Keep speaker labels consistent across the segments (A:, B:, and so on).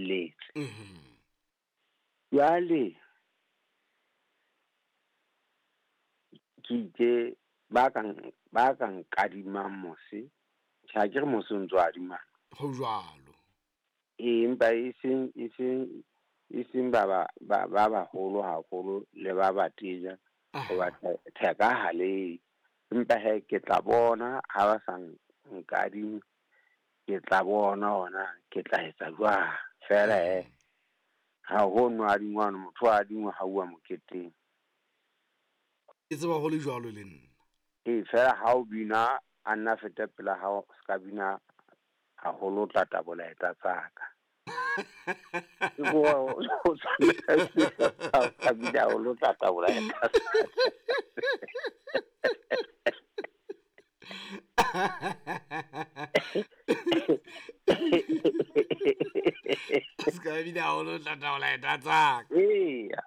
A: felletse. Jwale ke itse ba ka nkadimang mose, tjhe ha ke re mose o ntso adimana.
B: Ho jwalo.
A: Empa e seng ba baholo haholo le ba batenya hoba theka ha le. Empa he ke tla bona ha ba sa nkadime, ke tla bona hona ke tla etsa jwang. Feela he ha ho no adingwana, motho a adingwa ha uwa moketeng.
B: Ke tseba ho le jwalo le nna.
A: Feela ha o bina a nna fete pela hao, ska bina haholo o tla tabola eta tsaka. Ke bua o tla bina haholo o tla tabola eta.
B: Ska bina haholo o tla tabola eta tsaka.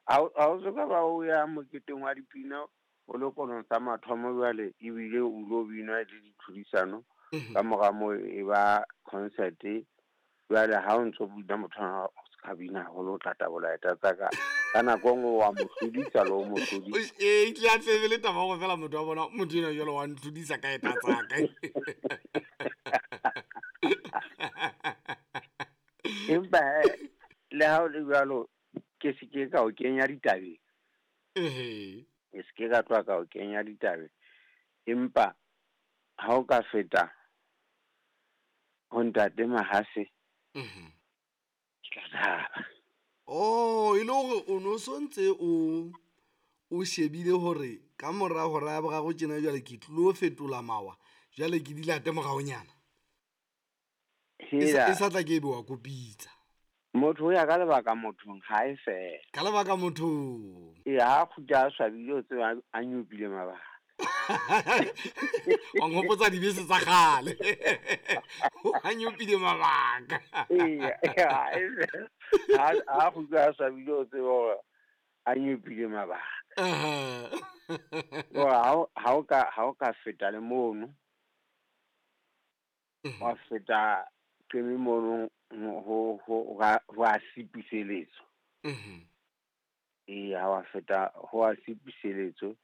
A: Ha o soka ba o ya moketeng wa dipina o le konong sa mathomo jwale ebile o lo bina le ditlhodisano. Ka mora moo e ba concert. Jwale ha o ntso bina motho o ska bina haholo o tla tabola eta tsaka. Ka nako nngwe wa mo hlodisa le o mo hlodisa.
B: Ke a tsebe le taba hore fela motho wa bona motho enwa jwale wa ntlhodisa ka eta tsaka.
A: Empa le ha o le jwalo ke se ke ka o kenya ditabeng. Ke se ke ka tloha ka o kenya ditabeng. Empa ha o ka feta ho ntate Mahase, ke tla thaba.
B: Oh, e le hore o no sontse o shebile hore ka mora hora ya boraro tjena jwale ke tlo fetola mawa, jwale ke dilate moraonyana. E sa tla ke ebe wa kopitsa.
A: Motho o ya ka lebaka mothong ha e fela.
B: Ka lebaka mothong.
A: Ha kgutla a swabile o tseba a nyopile mabaka.
B: Wa nghopotsa dibese tsa kgale. A nyopile mabaka.
A: Ha kgutla a swabile o tseba hore a nyopile mabaka. Ha o ka feta le mono, wa feta qeme mono ho a sipiseletso. Ha wa feta ho a sipiseletso.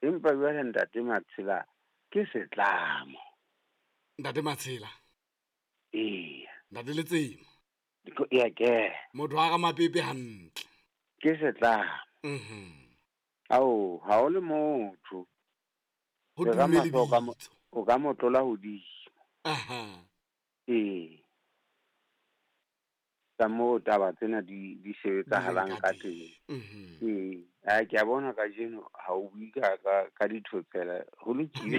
A: Empa jwale ntate Matshela ke setlamo.
B: Ntate Matshela?
A: Eya.
B: Ntate Letsema?
A: Eya ke.
B: Motho wa Ramapepe hantle.
A: Ke setlamo. Ao, ha o le motho.
B: Ho dume lebitso.
A: O ka mo tlola hodimo. Ka moo taba tsena di sebetsahalang ka teng. Ke a bona kajeno ha o bue ka dithotsela, ho lokile.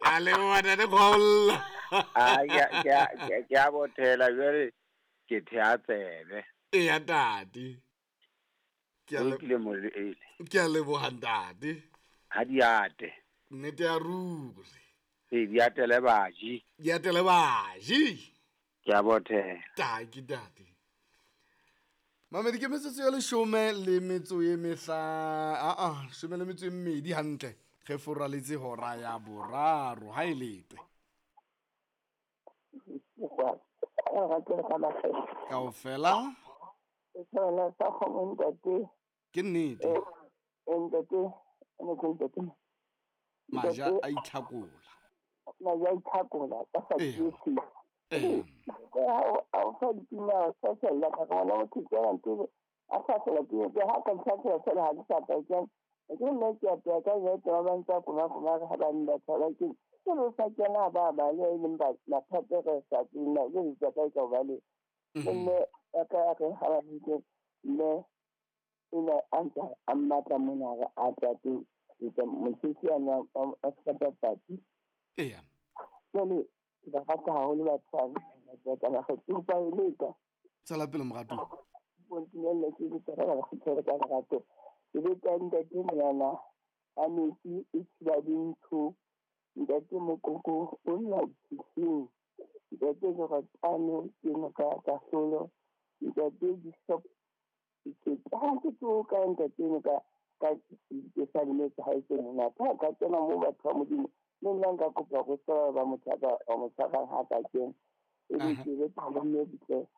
B: A leboha ntate Kgwaolla.
A: Ke a bothela jwale ke thea tsebe.
B: Eya ntate.
A: Ho lokile molele.
B: Ke a leboha ntate.
A: Ha di ate.
B: Nnete ya ruri.
A: Di atele baji.
B: Di atele baji.
A: Ke a bothela.
B: Taki ntate. Mamedi ke metsotso ya leshome le metso e mehla, shome le metso e mmedi hantle. Re foraletse hora ya boraro ha e letwe. Kaofela. Ke nnete. Maja a itlhakola.
C: Maja a itlhakola ka sa tsisi. Ha o fa dipina o sa sella ka bona motho ke a ntse a sa sella ke ha ka ntlha fela ha ke sa tla ke nne ke a ka ya tla ba ntsa kuma kuma ha ba nna tsala ke ke sa kena ba ba le leng ba mathata re sa tsina le tsa ka ka ba le mme ka re ha ba ntse le ina anta a mmatla mona re a tla teng ke mosisi ana a sa papati.
B: Eya.
C: Jwale ba rata haholo batho ba ka ba kgetho e leka.
B: Tswela pele morato.
C: Bontinelle ke tsara ba kgetho ka lerato. Ke be ka ntate monyana a metsi e tshiba dintho. Ntate Mokoko o nna bosising. Ntate Joratano ke noka kahlolo. Ntate Bishop ke tlo ka ntate noka ka ke sa lemetse ha e tse monate. Ha ka kena moo batho ba Modimo le nna nka kopa go tseba ba motho ba mo tshwarang ha ka kena. E be ke be tla mme butle.